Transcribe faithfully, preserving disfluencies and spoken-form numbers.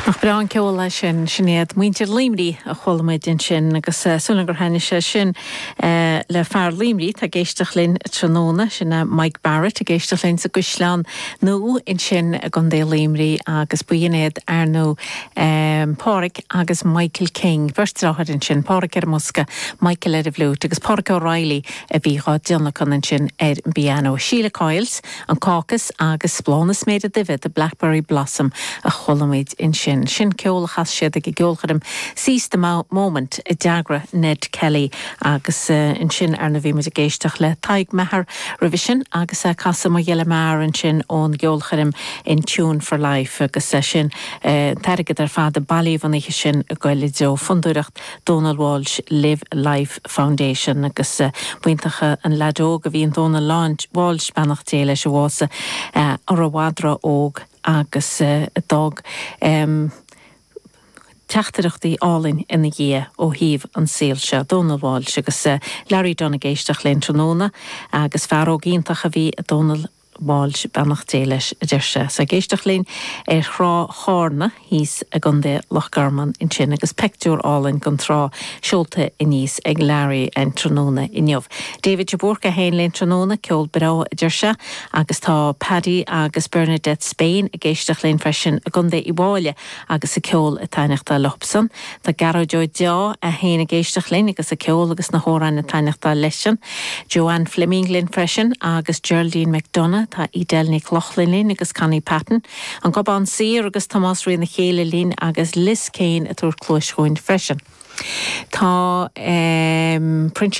Nach breá an ceol é sin sin iad muintir Luimnigh a chuala muid ansin agus uh, súil gur thaitnigh sé sin uh, le fear Luimnigh tá ag éisteacht linn tráthnóna sin uh, Mike Barrett ag éisteacht linn sa gCaisleán Nua ansin i gContae Luimnigh agus b'in iad ar ndóigh um, Pádraig agus Michael King Beirt deartháir ansin Pádraig ar an mbosca Michael ar an bhfliúit agus Pádraig O'Reilly a bhí á dtionlacan ansin ar an bpianó. Sheila Coyles an Cácas agus Bláth na Sméide Duibhe the Blackberry Blossom a chuala muid ansin. Sin ceol a chas siad ag an gceolchoirm Seize the Moment a d'eagraigh Ned Kelly agus uh, ansin ar ndóigh bhí muid ag éisteacht le Tadhg Maher roimhe sin agus uh, casadh Mo Ghile Mear ansin ón gceolchoirm in Tune for Life agus uh, sin uh, t-airgead ar fad a bailíodh an oíche sin ag goil i dtreo fondúireacht Donal Walsh Live Life Foundation agus uh, buintacha an leadóg a bhí in Donal Walsh beannacht Dé leis a bhásaigh uh, ar a mhadra óg agus uh, dog um, teachtaireachtaí álainn ina dhiaidh ó thaobh an saol seo Donal Walsh agus uh, Larry Dunn ag éisteacht linn tráthnóna agus fear óg iontach a bhí Donal Walsh beannacht Dé leis a deir sé. Sa ag éisteacht linn ar thrá Chárna thíos i gContae Loch Garman ansin agus pictiúr álainn den trá seolta aníos ag Larry an tráthnóna inniu. David de Búrca féin linn tráthnóna ceol breá a deir sé agus tá Paddy agus Bernadette Spain ag éisteacht linn freisin i gContae Uíbh Fhailí agus a ceol ag taitneacht leosan. Tá Gearóid Ó Deá a féin ag éisteacht linn agus a ceol agus na hamhráin ag taitneacht leisean. Joanne Fleming linn freisin agus Geraldine McDonough tá Edel Nic Lochlainn linn agus Connie Patton, an Gobán Saor agus Tomás Rí na chéile linn agus Liz Kane a tabhairt cluas chugainn freisin. Tá um, Princess